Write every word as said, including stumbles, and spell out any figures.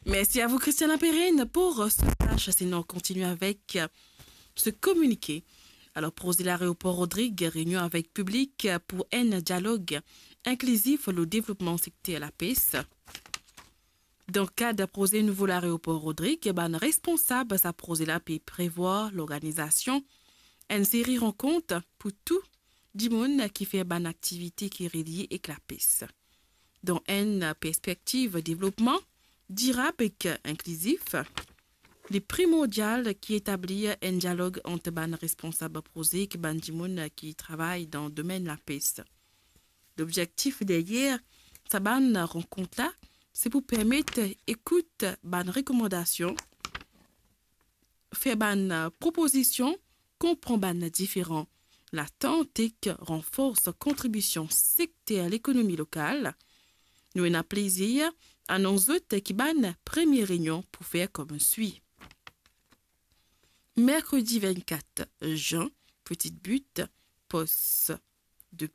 Merci à vous, Christiana Perrine, pour ce flash. Sinon, on continue avec, euh, ce communiqué. Alors, proze laeropor Rodrig, reynion avek piblik pou enn dialog inklizif lor devlopman sekter lapes. Dan kad proze nouvo laeropor Rodrig, bann responsab sa proze la pe prevwar lorganizasion enn seri rankont pou tou dimoun ki fer bann aktivite ki relie ek lapes. Dan enn perspektiv devlopman dirab ek inklizif, li primordial ki etablir enn dialog ant bann responsab proze ek bann dimoun ki travay dan domenn lapes. Lobzektif deryer sa bann rankont la, se pou permet ekout bann rekomandasion, fer bann propozision, konpran bann diferan latant ek ranfors kontribision sekter lekonomi lokal. Nou ena plezir anons zot ki bann premie reynion pou fer kouma swi. Merkredi vennkat zin, Petite Butte, post de